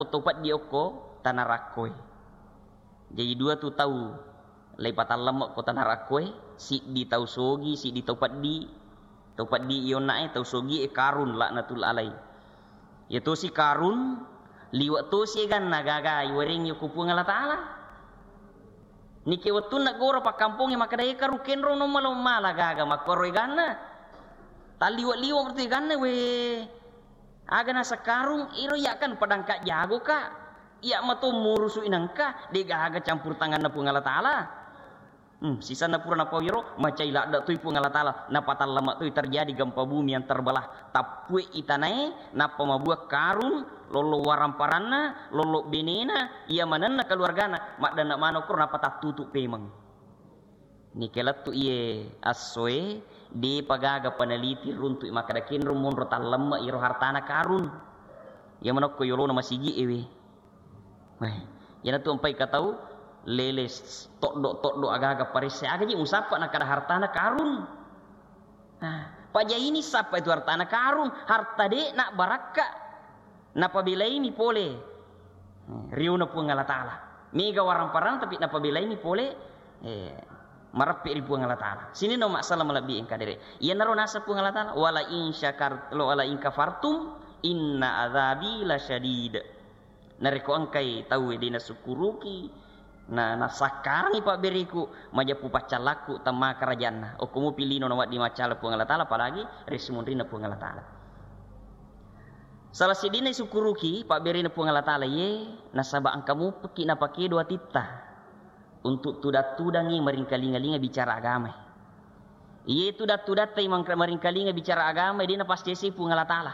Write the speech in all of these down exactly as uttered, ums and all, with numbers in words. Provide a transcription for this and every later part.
tau peddi okko tana rakkoe. Jaji dua tu tau laipatallemma ko tana rakkoe, siddi tau sogi, siddi tau peddi. Tau peddi iyonnae, tau sogi e Karun laknatullah alaih. Iya tosi Karun, liwe' tosi eganna gaga iwerengngi ko Puang Allah Ta'ala. Nike wettunna gora pakkampongnge makkeda, "E Karun, kenro no mala-, mala gaga makkoro eganna." Talliwe'-liwe' mertu eganna, we. Aga naseng Karun, iro iya kan pedangka jago ka. Iya mato murusu inangka, de gaga campur tanganna Puang Allah Ta'ala. Hmm, sisenna pura napau iyaro, macai ladde toi Puang Allah Ta'ala, napatallemma toi terjadi gempa bumi yang terbelah. Tappue itanae, nappa mabua Karun, lollo waramparanna, lollo benena, iya manenna keluargana, maddanna manokro, nappa tattutu pemeng. Nike lettu iye assoe, depa gaga peneliti runtu makkeda kenro monro tallemma iyaro hartana Karun. Iya manokko yolona masigi ewe. Weh, iyanatu empai ka tau lele s-, toddo-toddo agaga paresse, aga je musappa nakkeda hartana Karun. Nah, pajaini sappa itu hartana Karun, harta de na barakka. Napabelaini pole, eh, riona Puang Allah Ta'ala. Mega waramparang tapi napabelaini pole, eh, mareppe ri Puang Allah Ta'ala. Sininna masalah malebbi engka dere. Iyanaro naseng Puang Allah Ta'ala, "Wala in syakar-, lo wala in kafartum inna adzabi lasyadid." Narekko engkai tauwe de nasukkuruki, na, nasakkarangi pabbereku, majeppu paccallakku temma karajanna. Okko mupi lino nawedding maccala Puang Allah Ta'ala, apalagi ri munrinna Puang Allah Ta'ala. Salah siddinna isukkuruki pabberena Puang Allah Ta'ala ye, nasaba engka mupekki napakedo atitta untuk tudang-tudangi maringkalinga-linga bicara agamae. Iye tudang-tudang tai mangka-, maringkalinga bicara agama, de napascesi Puang Allah Ta'ala.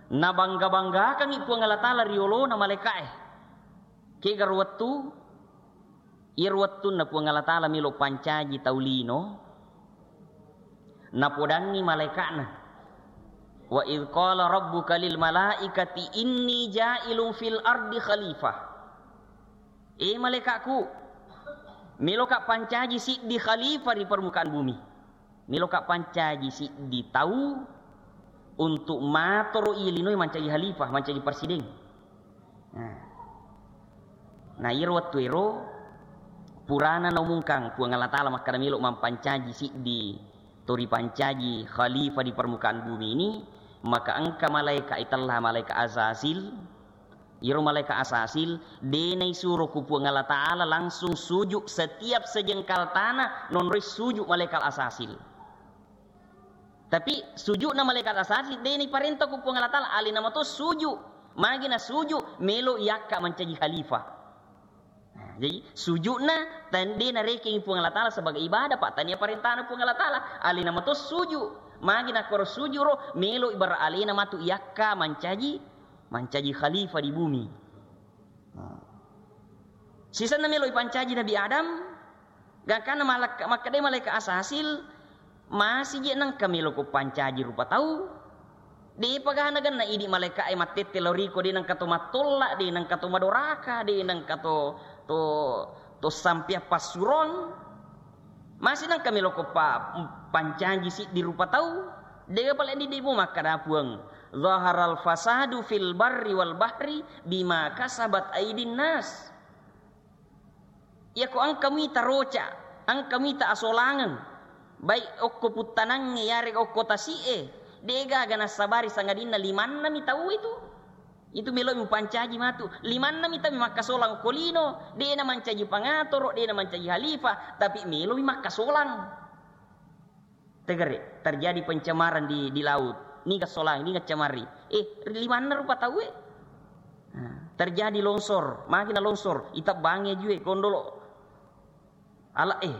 Nabangga-banggakangi Puang Allah Ta'ala riolona malaika'e. Kega ro wettu, iyaro wettunna Puang Allah Ta'ala melo pancaji tau lino, napodangi malaika'na, "Wa idh qala rabbuka lil malaikati inni ja'ilun fil ardi khalifah." E malaika'ku, meloka pancaji siddi khalifah ri permukaan bumi. Meloka pancaji siddi tau untuk matoro iya linoe mancaji khalifah, mancaji presiden. Nah. Nah, iyaro wettu ero purana naumungkang Puang Allah Ta'ala makkeda melo mampancaji siddi to ripancaji khalifah di permukaan bumi ini, maka engka malaika itella, malaika Azazil. Iyaro malaika Asasil, de naisuro ku Puang Allah Ta'ala langsung sujud, setiap sejengkal tanah nonroi sujud malaikat Asasil. Tapi sujudna malaikat Asasil, de naiparenta ku Puang Allah Ta'ala, alena mato sujud. Magi na sujud, melo yakka mancaji khalifah. Nah, jadi sujudna tan-, de narekengi Puang Allah Ta'ala sebagai ibadah, Pak. Tania parentana Puang Allah Ta'ala, alena mato sujud. Magi nakkoro sujud ro, melo ibarat alena matu yakka mancaji mancaji khalifah di bumi. Nah. Sisenna melo ipancaji Nabi Adam, gangkanna malak-, makkedai malaikat Asasil, "Masi je nengka melo ko pancaji rupa tau? Depa gana genna idi malaika'e mattette lao riko, de nengka to mattolla, de nengka to madoraka, de nengka to, to, to sampeang passuroang." Masi nengka melo ko pa-, pancaji siddi rupa tau? Dega pale diddimu makkada Puang, "Zaharal fasadu fil barri wal bahri bima kasabat aidin nas." Iyako engka mita roca, engka mita asolangeng, baik okko puttanangnge yarega okko tasi'e, degaga nassabari sangadinna limanna mi tau itu. Itu melo'i mupancaji matu. Limanna mita mi makkasolang ko lino, de'na mancaji pangatoro, de'na mancaji halifah, tapi melo'i makkasolang. Tegere, terjadi pencemaran di, di laut. Niga solang, niga cemari. Eh, limanna rupa tauwe. Nah, terjadi longsor, makina longsor, itebbangi ajue, kondolo. Ala, eh.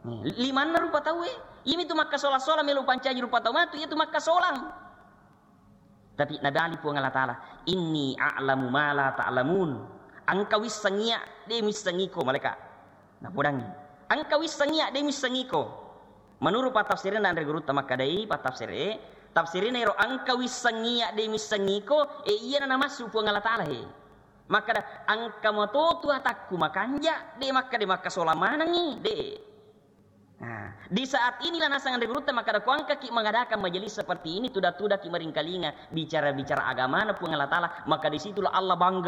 Nih, limanna rupa tauwe. Iyami tu makkasolang-solang melo pancaji rupa tau matu, iya tu makkasolang. Tapi nadali Puang Allah Ta'ala, "Inni a'lamu ma la ta'lamun." Engka wisseng iya, de missengiko, malaika. Napodangi. Engka wisseng iya, de missengiko. Menurut patafsirna anre gurutta makkadai, patafsire, tafsirina ero engka wisseng iya, de missengiko, e iyana namassu Puang Allah Ta'ala he. Makkada, engka matotu atakku makanja, de makkada makkasolang manengi, de. Nah, di saat inilah nasang anre gurutta makkada, ko engkaki mengadakan majelis seperti ini, tuda-tudaki maringkalinga bicara-bicara agamana Puang Allah Ta'ala, maka di situlah Allah bangga